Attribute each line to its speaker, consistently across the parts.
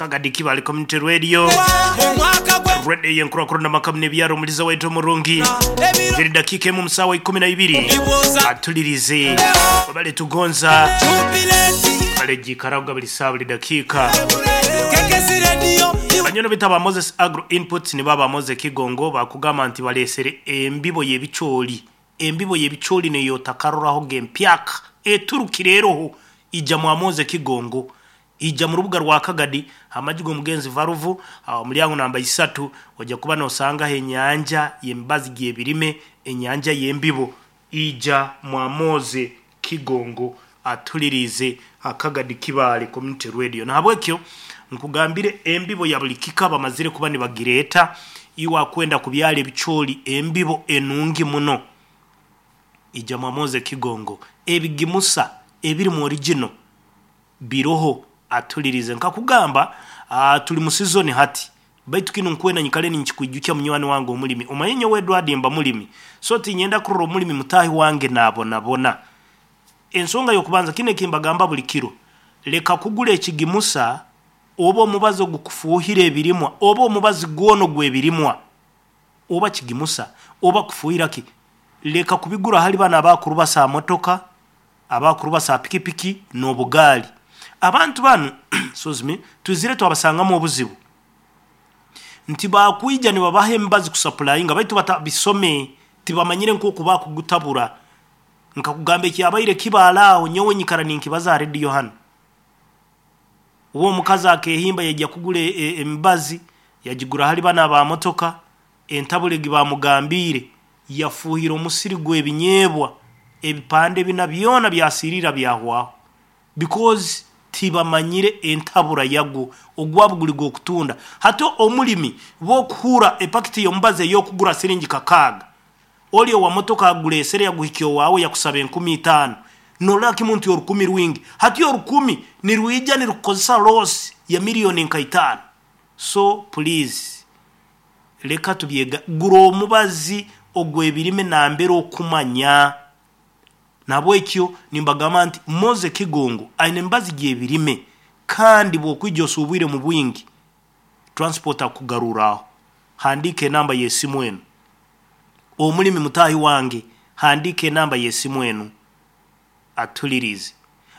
Speaker 1: Kagadi Kibale Community Radio, Radio y'enkurakurana amaka n'ebyaro omuliza waitu omurungi. Ziri dakiika emu omu saawa 12 atulirize webale tugonza webale giikaraga buli saawa buli dakiika. Banyono baitu aba Moses Agro Inputs nibo aba Moses Kigongo bakugamba nti balesere embibo y'ebicooli. Embibo y'ebicooli neyootakarorahoga empyaka eturukire eroho ija mwa Moses Kigongo. Ija mu rubuga rwa Kagadi aha maju g'omugenzi Varuvu omulyango namba isatu oja kuba nosangaho enyanja y'emibazi gy'ebirime, enyanja y'embibo. Ija mwa Moses Kigongo atulirize Akagadi Kibaale Community Radio. Nahabwekyo nkugambire embibo ya buli kika bamazire kuba nibagireeta iwe akwenda kubyara ebicooli embibo enungi muno. Ija mwa Moses Kigongo ebigimusa ebirimu original biroho atulirize. Nkakugamba tuli mu sizoni hati baitu kinu nkwenda nyikare ninkikwijukya munywani wange omulimi. Omanye nyowe Edward mba mulimi so tinyenda kurora omulimi mutaahi wange nabonabona. Ensonga y'okubanza kinu ekimbagamba buli kiro, leka kugura ekigimusa oba omubazi ogukufuuhira ebirimwa oba omubazi gwona ogw'ebirimwa oba kigimusa oba kufuuhira ki, leka kubigura hali banu abakurubasa motoka, abakurubasa pikipiki n'obugaali. Abantu banu excuse me, twizire twabasangamu obuzibu nti bakwija nibabaha emibazi kusapulayinga baitu batabisome tibamanyire nk'oku bakugutabura. Nkakugamba ekyabaire kibaala aho nyowe nyikara ninkibaza aha rediyo hanu. Uwe omukazi akehimba yaija kugura emibazi yagigura hali banu aba motoka, entabura egi bamugambiire yafuuhira omusiri gw'ebinyeebwa ebipande bina byona byasiriira byahwaho because tibamanyire entabura yagwo ogwabo guri gw'okutunda. Hati omulimi bw'okuhuura epakiti y'omubazi ey'okugura siringi 6 ori owa motoka agureesere yaguhikya owaawe yakusaba 5000 norora kimu nti orukumi rwingi. Hati orukumi nirwija nirukukozesa loss ya miliyoni nka itaano. So please leka tubyega gura omubazi ogw'ebirime nambere okumanya. Nahabwekyo nimbagamba nti Moses Kigongo aine emibazi gy'ebirime kandi bw'okwija osuubwire mu bwingi transport akugaruraaho. Handiika enamba y'esimu enu. Omulimi mutaahi wange handiika enamba y'esimu enu atulirize.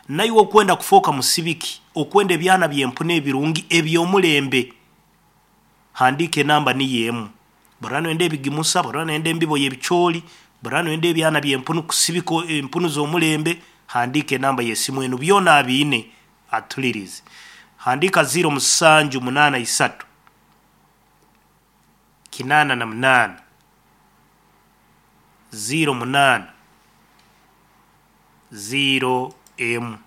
Speaker 1: Naiwe okwenda kufooka musibiki, okwenda ebyana by'empunu ebirungi eby'omulembe, handiika enamba niyo emu. Bw'oraba noyenda ebigimusa, bw'oraba noyenda embibo y'ebicooli, bw'oraba noyenda ebyana by'empunu kusibika empunu z'omulembe, handiika enamba y'esimu enu byona abiine atulirize. Handiika 0783 88 08 0 emu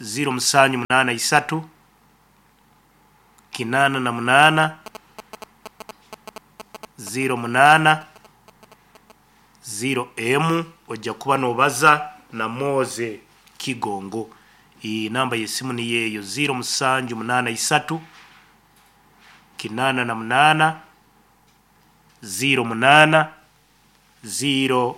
Speaker 1: 0783 88 08 0 emu ojja kuba nobaza na Moses Kigongo. Namba y'esimu niyo eyo 0783 88 08 0.